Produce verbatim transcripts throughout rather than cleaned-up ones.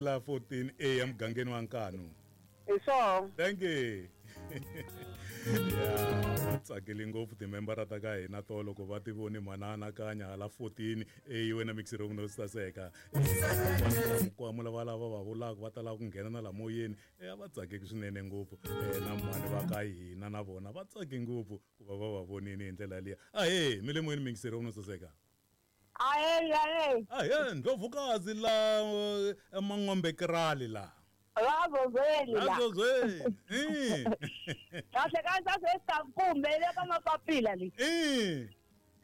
La fourteen A emugangeni wa Nkanu. Hi swona. Thank you. Yeah, va tsakile ngopfu timembara ta ka hina to loko va ti voni mhana anakanya hala fourteen A wena mixer no saseka. Mukwamo lava lava va vulaka va tala ku nghena na la moyeni, eh va tsakile swinene ngopfu. Eh na mhani va ka hina na vona va tsake ngopfu ku va va va vonini hi ndlela liya. Ahee, mi le moyeni mixer no saseka. Ahe, ahe. Ahe, ndlovukazi la Mangombe Krali la. Razozweni la. Razozweni. Eh. Kahle kanisa sesikumbe le ka mapapila le. Eh.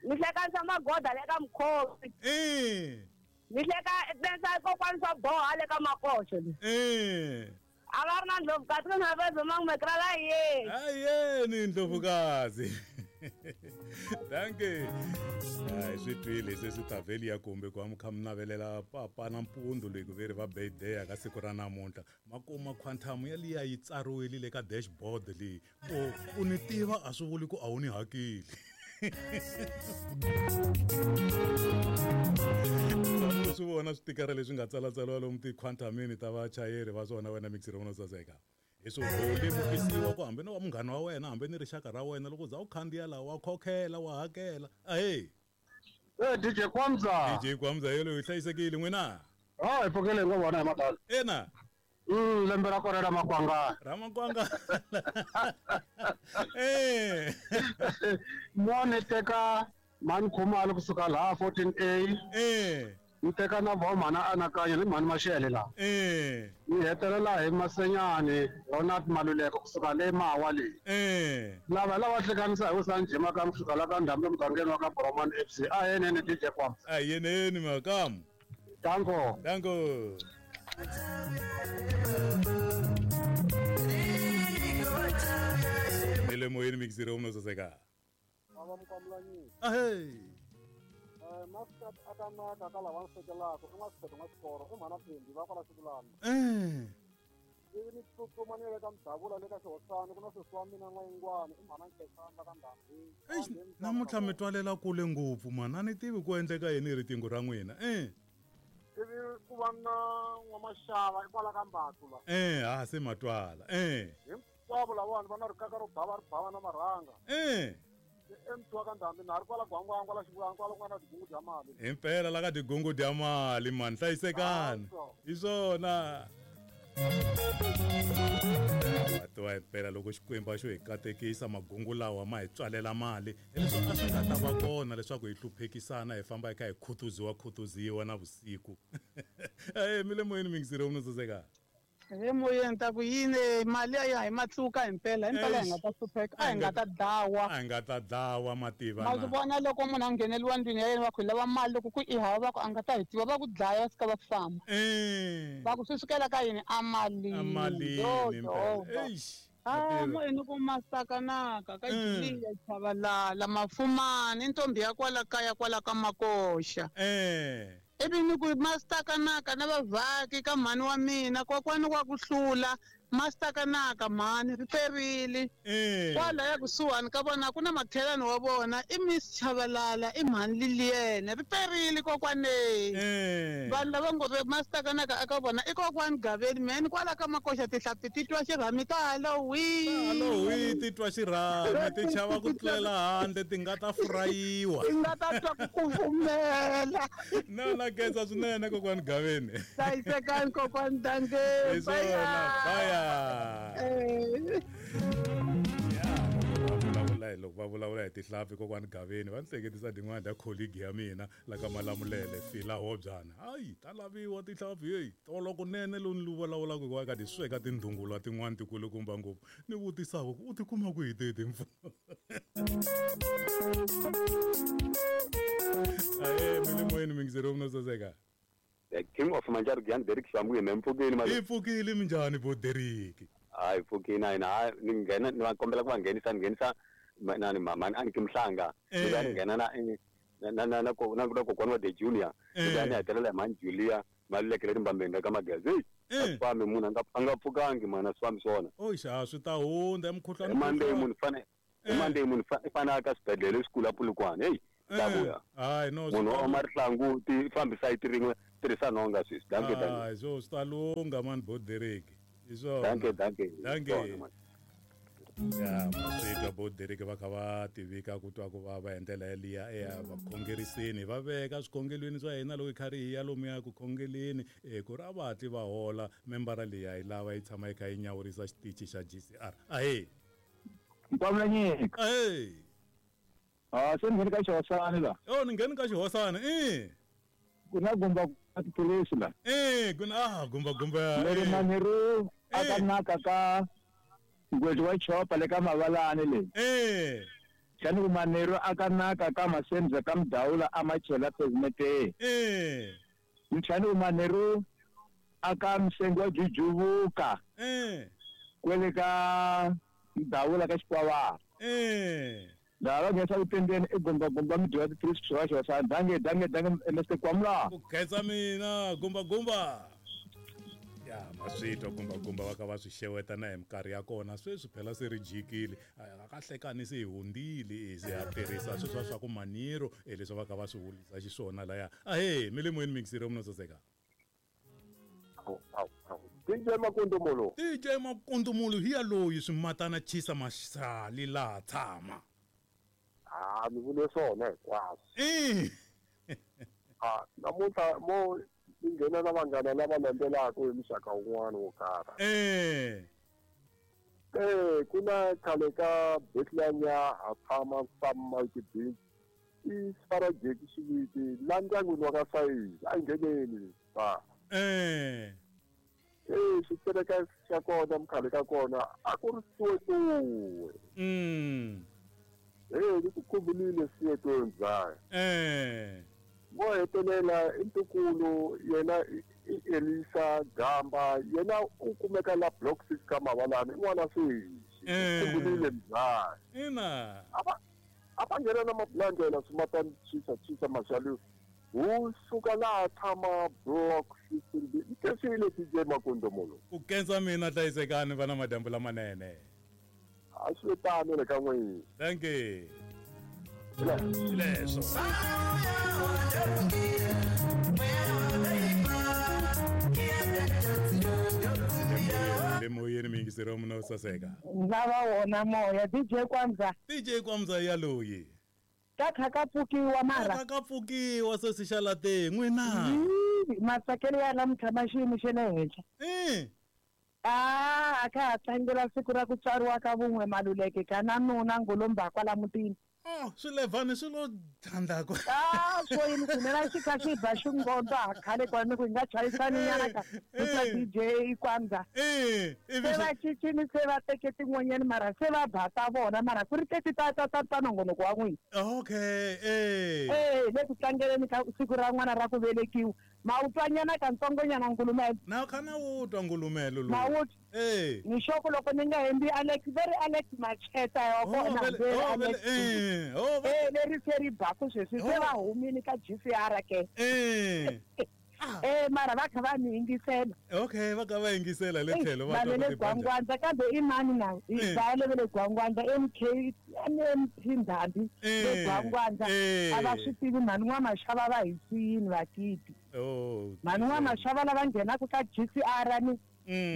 Ni hlekanisa magoda le ka mkhosi. Eh. Ni hleka tensa kokwani swa boha le ka makoxo le. Eh. A va ri na ndlovukazi na vazo Mangombe Krali ye. Aye, ni ndlovukazi. Thank you. Hayi swi twile se swi ta vheli ya kumbe ku amukha mi navelela papa na mpundzu leyi ku veri va birthday ka siku ra namuntlha makuma quantum ya liya yi tsariwile le ka dashboard leyi ku u ni tiva a swi vuli ku a wu ni hakeli. Swi vona switikara leswi nga tsalatsariwa lomu ti-quantumini ta vachayeri va swona wena mixer u saseka. Hi swo lemukisiwa ku hambi ni wa munghana wa wena hambi ni rixaka ra wena loko za u khandziya laha wa khokhela wa hakela. Ahee. Eh D J Kwamza. D J Kwamza yelo yi hlayisekile n'wina? Ah hi pfukile hi ngo vona hi madala. Ina. Mm lembe ra kona ra makwanga. Ra makwanga. Eh. Mone teka mani khumalo kusuka laha fourteen A. Eh. Ni teka na vo mhana anakanya ni mhani Mashele la. Eh. Ni hetelela hi Masenyani Ronald Maluleke kusuka le Mawa le. Eh. Lava lava hlekanisa hi Vusanjima ka kusuka la ka Ndhambi mugangeni wa ka Boromani F C. A yenene D J Kwamza. A yenene makamu. Danko. Danko. Ile moyeni mixiro uno saseka. Baba mkwamlanyi. Ahey. Eh master akanaka kala wa sekelako i n'wasipheto n'wasiporo i mhana Phindi va kwala Xikulana. Eh. Ivi ni tsutsuma ni ya le ka Mdavula le ka Xihosana ku na sesi wa mina N'wayingwani i mhana Nkhensani la ka Ndhambi. Eish, namuntlha mi twalela kule ngopfu mhana a ni tivi ku endleka yini hi riqingho ra n'wina. Eh. Ivi ku va na N'wamaxava i kwala ka Mbathu la. Eh, ha se matwala. Eh. Hinkwavo lavawani va na rikaka ro bava ri bava na marhanga. Eh. Emthiwa ka Ndhambi na ri kwala Gwangwangwa kwala Xivulana kwala ku nga na tigungu dya mali. Himpela la ka tigungu dya mali mani hlayisekani. Hi swona. Tiva himpela loko Xikwembu a xo hi katekisa magungu lawa ma hi tswalela mali hileswi a swi nga ta va kona leswaku hi hluphekisana hi famba hi kha hi khutuziwa khutuziwa na vusiku. Eh mi le moyeni mingisire u saseka. He moyeni ta ku yini mali ya hi matluka himpela himpela hi nga ta hlupheka a hi nga ta dlawa. A hi nga ta dlawa mativa na. Ma swi vona loko munhu a ngheneliwa ndlwini ya yena va ku hi lava mali loko ku i hava va ku a nga ta hi tiva va ku dlaya va fika va famba. Eh. Va ku swi sukela ka yini a malini. A malini himpela. Eish. Ah moyeni ku masakanaka ka Julia Chabalala Mafumani ntombi ya kwala kaya kwala ka Makoxa. Eh. Ivi ni ku mastakanaka na vavhaki ka mhani wa mina kokwani wa ku hlula mastakanaka mhani ri perile. Kwala ya kusuhani ka vona ku na makhelani wa vona i Miss Chabalala i mhani Liliene ri perile kokwane. Vanhu lava ngo ve mastakanaka aka vona i kokwani Gaveni mhani kwala ka Makoxa tihlampfi ti twa xirhami ta Halloween. Halloween ti twa xirhami ti chava ku tlela handle ti nga ta furayiwa. Ti nga ta twa ku kufumela. No na khensa swinene kokwani Gaveni. Hlayisekani kokwani Danke. Bye. Ya loko va vulavula hi tihlampfi kokwani Gaveni va ni hleketisa tin'wana ta colleague ya mina la ka Malamulele Fila Hobyana. Hayi ta laviwa tihlampfi hey tolo kunene lowu ni vulavulaka hi ka ti sweka tindhungulwa tin'wana tikulukumba ngopfu ni vutisaka ku u ti kuma ku hi teti mfumo. Aye mi le moyeni mingisero u saseka. The King of Manjargian Derek Shamwe mempfukeni mali. Ipfukile minjhani bo Derek? Hayi pfukini na hina ni nghena ni va kombela ku va nghenisa ni nghenisa nani mama Anki Mhlanga ni va nghena na na na na na na kokwana wa The Junior ni va ni hetelela hi mhani Julia Maluleke le Mbambeni ka Magezi. A fambi munhu a nga a nga pfukangi mhana swi fambi swona. Oxa swi ta hundza emukhuhlwani. Monday munhu fane Monday munhu fane ka xibedhlele lexikulu a Polokwane. Hey. Tavuya. Hayi no munhu wa oma rihlanguti fambisa yi rin'we tirhisa nhonga sweswi. Dankie dankie. Ah, so swi ta lungha mani Boderek. Hi swona. Dankie dankie. Dankie. Ya maswitwa Boderek va kha va tivika ku twa ku vava hi ndlela yaliya eya vakhongeriseni va veka swikhongelweni swa hina loko hi karhi hi ya lomuya ku khongeleni e ku ri a va hatli va hola membara leyi a yi lava yi tshama yi kha yi nyawurisa xitichi xa G C R. Ahee. Nkwamula nyika. Ahee. Ah, se ni ngheni ka xihosana la. Oh, ni ngheni ka xihosana eh. Ku na gumba tiphilisi la. Eh, ku na ah gumba gumba. Leri manheru aka naka ka ngwezi wa chopa le ka mavalani le. Eh. Xani ku manheru aka naka ka masendza ka mdawula a machela pavement. Eh. Xani ku manheru aka msengo wa jujuvuka. Eh. Kwele ka mdawula ka xikwavana. Eh. Laha va nghenisa vutendeni i gumba gumba mi dyiwa tiphilisi swa xihosana. Dankie dankie dankie Mister Kwamula. Ku khensa mina gumba gumba. Ya maswitwa gumba gumba va ka va swi xeweta na hi minkarhi ya kona sweswi phela se ri jikile a ka hlekani se hi hundzile se ha tirhisa sweswi swa ku maniro e leswi va ka va swi vulisa xiswona laya. Ahee mi le moyeni mixiro mno saseka. D J Makundumulo. D J Makundumulo hi ya loyi swimatana chisa masali laha tshama. Ah, mi vule swona hinkwaswo. Eh. Ah, namuntlha mo ni nghena na vanghana lava landzelaka hi muxaka wun'wana wo karhi. Eh. Eh, ku na khale ka Bethlehem ya ha tshama Sam Mike Beach. I Sfarajeki xiviti la ndyangwini wa ka Sayizi a ngheneni va. Eh. Eh, xitereka xa kona mkhale ka kona a ku ri Soweto. Mm. Eh, ni ku khumbulile Soweto ndzhaku. Eh. Vo hetelela i ntukulu yena i Elisa Gamba yena u kumeka la block six ka Mavalani i n'wana sweswi. Khumbulile ndzhaku. Ina. A va a va nghena na mabulandlela swimatani chisa chisa maxalu. Wu suka laha tshama block fifteen B. Nkesile D J Makundumulo. Ku khensa mina hlayisekani va na madyambu lamanene. A swi tano le ka n'wina. Thank you. Leswo. Le moyeni miyingiseri muna saseka. Lava wona moya D J Kwamza. D J Kwamza ya loyi. Ka kha ka pfukiwa mara. Ka ka pfukiwa sesi xa la teng n'wina. Matsakelo ya namuntlha ma xiyimo xa le henhla. Eh. Ah, a kha ha tlangela siku ra ku tswariwa ka vun'we Maluleke ka na nuna Ngolomba kwala mutini. Oh, swilevhani swi lo thandzako. Ah, swo yini kunene xi kha xi ba xingondo ha khale kwani ku hi nga chayisani nyana ka ka D J Kwamza. Eh, se va cincile se va teke tin'wanyani mara se va ba ta vona mara ku ri teti ta ta ta ta nongonoko wa n'wina. Okay, eh. Eh, le ku tlangeleni ka siku ra n'wana ra ku velekiwa. Ma u twa nyana katsongonyana Ngulumelo. Na kha na u twa Ngulumelo lowu. Ma u Eh. Ni xoko loko ni nga hembi Alex very Alex Macheta ya kona oh, Alex. Eh, oh, eh leri se ri baku sweswi se va humile ka G C R ke. Eh. Eh mara va kha va ni yingisela. Okay, va kha va yingisela le tlhelo va le Gwangwandza kambe i mani na i va le Gwangwandza M K M P Ndhambi le Gwangwandza a va swi tivi mhani n'wa-Mashava va hi siyini vakiti. Oh. Mhani n'wa-Mashava lava nghenaka ka G C R ni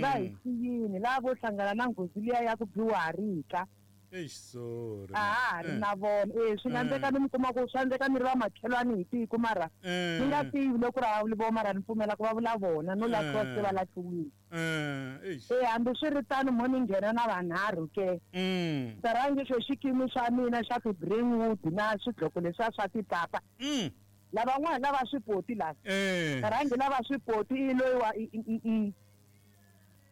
va hi siyini lava vo hlangana na nghozi liya ya ku biwa harika. Eish, sorry. A ha ri na vona. Eh, swi nga endleka ni mi kuma ku swi endleka ni ri vamakhelwani hi tiko mara ni nga tivi loko ri a vuli mara ni pfumela ku va vula vona no lahliwa se va lahliwile. Eh, hambi swi ri tano mo ni nghena na vanharhu ke. Ta rhangi xo xikimi xa mina xa ti-Greenwood na swidloko leswiya swa tipapa. Lavan'wana lava swipoti lava. Rhangi lava swipoti i loyi wa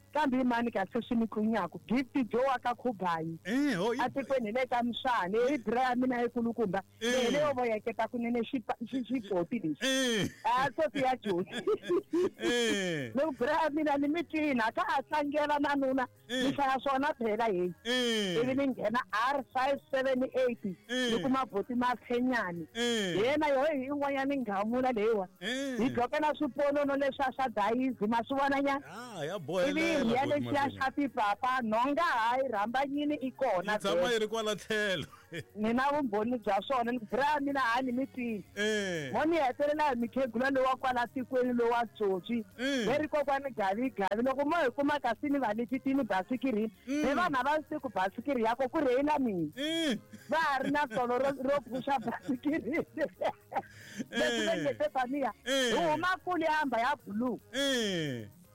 kambe i mani kahle swi ni tlunyaku Gift Joe wa ka Khubayi a tikweni le ka Mshane i bra ya mina yikulukumba leyi leyo voyeketa kunene xipoti lexi a Sophie ya Josi loko bra ya mina ni mi twini a ka a tlangela na nuna ni hlaya swona phela heyi ivi ni nghena R five seven eight ni kuma boti Maphenyani hi yena yo hi yin'wanyana nghamula leyiwa hi dloke na swiponono leswiya swa dayizi ma swi vona nyana ya bohelela. Ya lexiya xa tipapa nhonga hayi rhambanyini i kona. Yi tshama yi ri kwala tlhelo. Ni na vumbhoni bya swona ni bra mina ha ni mi twini. Mo ni hetelela hi mikhegula lowa kwala tikweni lowa tsotsi. Ve ri kokwani gavi gavi loko mo hi kuma kasi ni va lifitini basikiri. Ve vanhu a va swi ku basikiri ya ko ku rheyila mina. Va ha ri na tolo ro ro phusha basikiri. Leswi va nge Stefania. Hi huma kule hamba ya blue.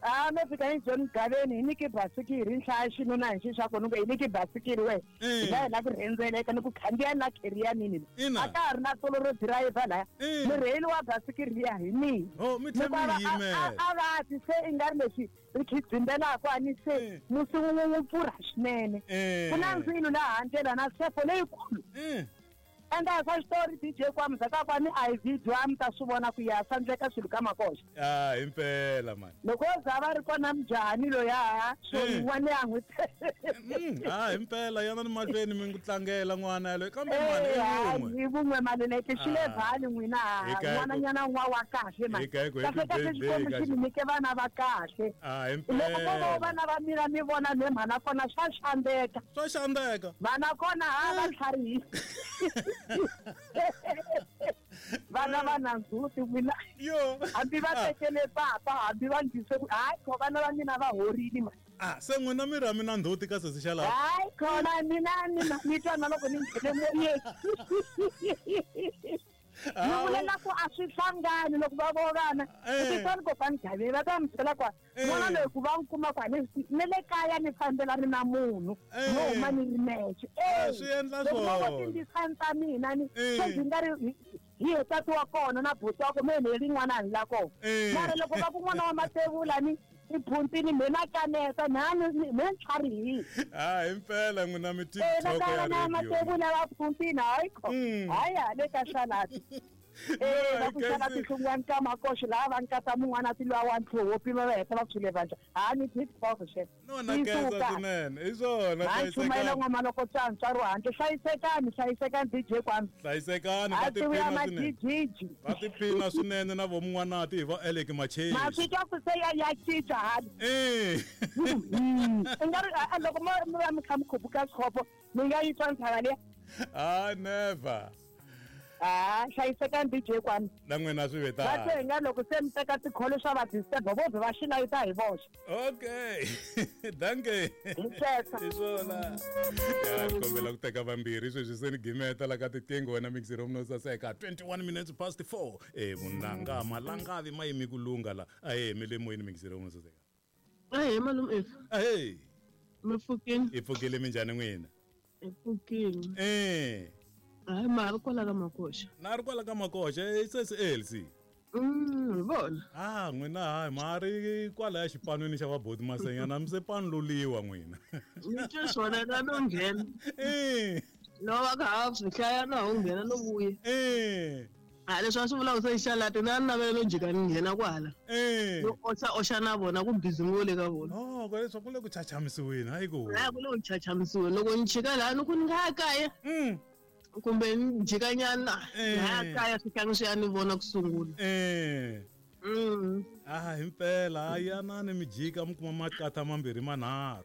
Ah, me fika hi John Gaveni hi nyike basikiri nhlaya xinuna hi xi xa kona ku hi nyike basikiri we. Hi la la ku rhendzeleka ni ku khandziya na kheriya mini. A ka ha ri na tolo ro dirayivha laya. Murheyili wa basikiri liya hi mina. Oh, mi tlhela mi yimela. A va ti se i nga ri lexi ri khidzimbelaka a ni se musi wun'we wu pfurha swinene. Ku na ndzilo laha handle na sefo leyikulu. Enda swa xitori D J kwa mzaka kwa ni I V dwa mi ta swi vona ku ya sandleka swilo ka makoxa. Ah, impela man. Loko za va ri kona mujahani loya so yin'wana ya n'wi. Ah, impela yana ni mahlweni mi ku tlangela n'wana yaloye kambe mani i wun'we. Hi vun'we maluleke xi le vhali n'wina n'wana nyana n'wa wa kahle man. Kahle kahle xikwembu xi mi nyike vana va kahle. Ah, impela. Loko vo vana va mina mi vona le mhana kona swa xandeka. Swa xandeka. Vana kona ha va tlharihi. Vana va na ndzhuti n'wina. Yo. Hambi va tekele papa hambi va ndlise ku hayi kho vana va mina va horile ma. Ah, se n'wina mi ra mina ndzhuti ka sesi xa laha. Hayi khona mina ni ni twa na loko ni nghene moyeni. Ni vulela ku a swi hlangani loko va vo vana. Kutani kokwani Gavi va ta mi byela kwa n'wana loyi ku va n'wi kuma kwa ni ni le kaya ni fambelani na munhu no huma ni ri nexe. Eh, swi endla swona. Loko tindisani ta mina ni se ndzi nga ri hi he tati wa kona na buti wa kona me ni rin'wana ni la kona. Mara loko va ku n'wana wa matevula ni i phuntini me na kaneta na ni me ntlharihile. Ah, impela n'wina mi TikTok ya radio. Na matevula va phuntini hayi kho. Hayi hale ka salad. Eh, va ku xava tihlungwani ka makoxi laha va nkata mun'wana ti lwa wa ntlhoho pima va heta va tshule vandla. Ha ni TikTok xe. No na khensa swinene. Hi swona hlayisekani. N'wana loko tswantswa ro handle hlayisekani hlayisekani D J kwami. Hlayisekani va tiphina swinene. Va tiphina swinene na vomun'wanati hi va Alec Machezi. Ma swi twa ku se ya ya cinca hali. Eh. I nga ri loko mo mi va mi kha mi khupuka swikhopo mi nga yi twa ntshava liya. Ah, never. Ah, hlayisekani D J kwami. Na n'wina swi vetana. Va twe nga loko se mi teka tikholo swa va disturb vo vhe va xi layita hi voxe. Okay. Danke. Hi Hi swona. Ya ni kombela ku teka vambirhi sweswi se ni gimeta la ka tiqingho wena mixi room no saseka twenty-one minutes past four. Eh vunanga malangavi ma yimi ku lunga la. Ahe mi le moyeni mixi room no saseka. Ahe malume F. Ahe. Mi pfukile. Hi pfukile minjhani n'wina? Hi pfukile. Eh. Hayi ma ri kwala ka makoxa. Na ri kwala ka makoxa i sesi Elsie. Mm, vona. Ah, n'wina hayi ma ri kwalaya xipanwini xa vaboti Masenyana mi se panululiwa n'wina. Ni twe swona na no nghena. Eh. No va ka ha swi hlaya na ho nghena no vuya. Eh. Ha leswi a swi vulaka se xalati na ni navela no jika ni nghena kwala. Eh. No oxa oxa na vona ku busy ngopfu le ka vona. Oh, ko leswi ku le ku chachamisiweni hayi ku. Hayi ku le ku chachamisiweni loko ni chika laha ni ku ni nga ya kaya. Mm. Kumbe ni jikanyana laha kaya swihlangi swi ya ni vona ku sungula. Eh. Mm. Ah, impela yana ni mi jika mi kuma makatha mambirhi manharhu.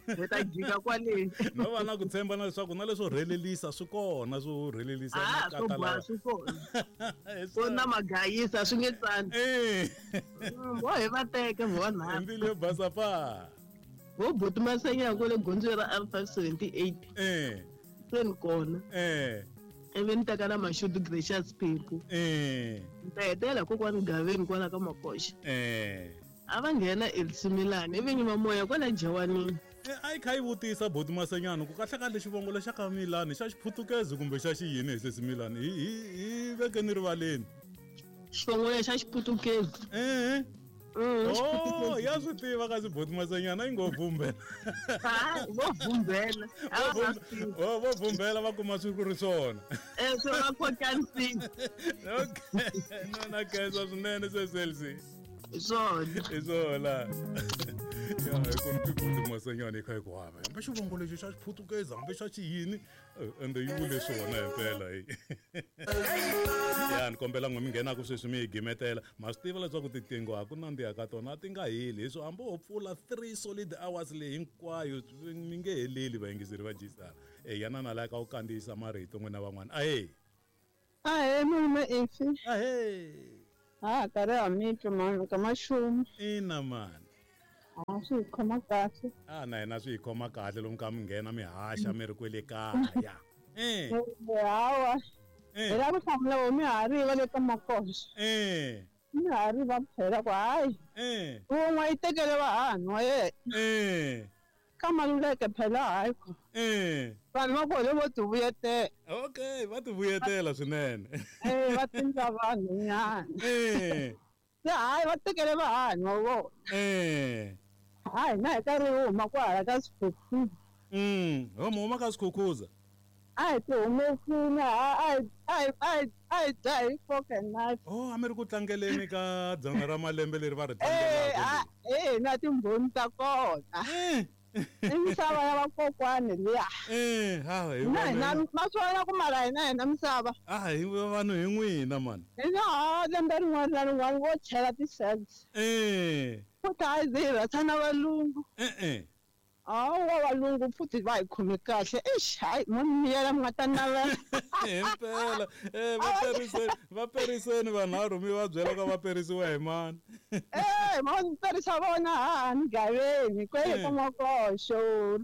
Hi ta jika kwale. No va na ku tshemba na leswaku na leswo rhelelisa swi kona swo rhelelisa Ah, swo makatha boha lawa. swi kona. Ku na magayisa swi nge tsani. Eh. Vo hi va teka vo vanharhu. Mbilu yo basa pa. Vo buti Masenya kwale gondzweni ra R five seventy-eight. Eh. Se ni kona. Eh. Ivi ni teka na Mashudu Gracious Phephu. Eh. Ni ta hetelela kokwani Gaveni kwala ka Makoxa. Eh. A va nghena Elsimilani ivi nyima moya kwala Jawanini. Eh, a yi kha yi vutisa buti Masenyana ku kahle kahle xivongo lexa ka Milani xa xiphutukezi kumbe xa xiyini hi sesi Milani hi hi hi vekeni rivaleni. Xivongo lexa xiphutukezi. Eh. Mm, Oh, ya swi tiva kasi buti Masenyana yi ngo vumbela. Ha, vo vumbela. A va swi tivi. Oh, vo vumbela va kuma swi ku ri swona. Eh, se va khotanisile. Okay. No na khensa swinene sesi Elsie. Hi swona. Hi swona. Ya hi ku ni buti Masenyana yi kha yi ku hava. Hambi xivongo lexi xa xiphutukezi hambi xa xiyini ende yi vule swona himpela hi. Ya ni kombela n'we mi nghenaku sweswi mi hi gimetela. Ma swi tiva leswaku tiqingho a ku nandziha ka tona a ti nga heli hi swo hambi ho pfula three solid hours leyi hinkwayo mi nge heleli vayingiseri va G-Star. E yana na la ka u kandziyisa marito n'wina van'wana. Ahee. Ahee malume Ifi. Ahee. Ha karhi ha mi twa mani ka maxumu. Ina mani. A swi hi khoma kahle. A na hina swi hi khoma kahle lomu ka mi nghena mi haxa mi ri kwele kaya. Eh. Hawa. Hi lava ku hlamula vo mihari va le ka makoxa. Eh. Mihari va phela ku hayi. Eh. Wun'we yi tekele vahanu wa yena. Eh. Ka Maluleke phela hayi ku. Eh. Vanhu va kona vo ti vuyetela. Okay, va ti vuyetela swinene. Eh, va tindza vanhu nyana. Eh. Se hayi va tekele vahanu wa vona. Eh. Hayi na hi karhi hi huma kwahala ka Skhukhuza. Mm, ho mi huma ka Skhukhuza. A hi ti humesile a hi a hi a hi dya hi fork and knife. Oh, a mi ri ku tlangeleni ka dzana ra malembe leri va ri Eh, tlangelaka. eh, na timbhoni ta kona. Eh. I misava ya vakokwani liya. Eh, ha hi Na hina vanhu. ma swi vona ku mara hina hina misava. A hi vanhu hi n'wina mani. Hina ha lembe rin'wana na rin'wana vo chela ti-cells. Eh. Futhi a hi ze hi rhatsana valungu. Eh eh. Hawa valungu futhi va hi khome kahle. Eish, hayi mo ni miyela mi nga ta navela. Himpela. Eh, va periseni, va periseni vanharhu mi va byela ku va perisiwa hi mani. Eh, ma ni perisa vona ha gaveni kwele ka makoxo,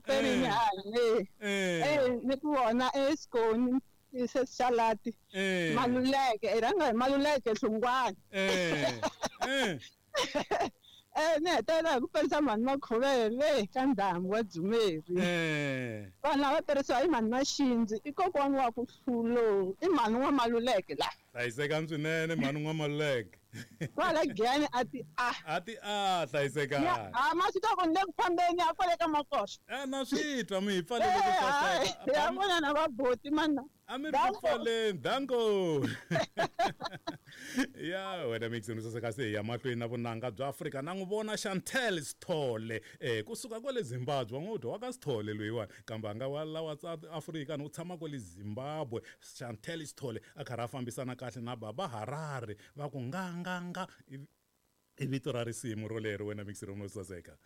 perini hane. Eh. Eh, ni ku vona eSkoni isesalati. Eh. Maluleke, i rhanga hi Maluleke Hlungwani. Eh. Eh. Eh, ni hetelela hi ku perisa mhani Makhovele le ka ndhambi wa Dzumeri. Eh. Vanhu lava perisiwa hi mhani Maxindzi i kokwani wa ku hlulo, i mhani wa Maluleke la. Hlayisekani swinene mhani n'wa Maluleke. Kwala Giyani a ti a. A ti a hlayisekani. A ma swi tiva ku ni le ku fambeni a kwale ka makoxa. Eh, na swi twa mi hi pfalele ku Eh, hayi, saseka. ya vona na vabuti mana. A mi ri ku pfaleni, danko. Ya wena mixini saseka se hi ya mahlweni na vunanga bya Afrika na n'wi vona Chantel Sithole eh kusuka kwale Zimbabwe wa n'wi dya wa ka Sithole loyiwani kambe a nga wa lawa South Africa ni u tshama kwale Zimbabwe. Chantel Sithole a karhi a fambisana kahle na Baba Harare va ku nga nga nga i vito ra risimu rolero wena mixini ro saseka.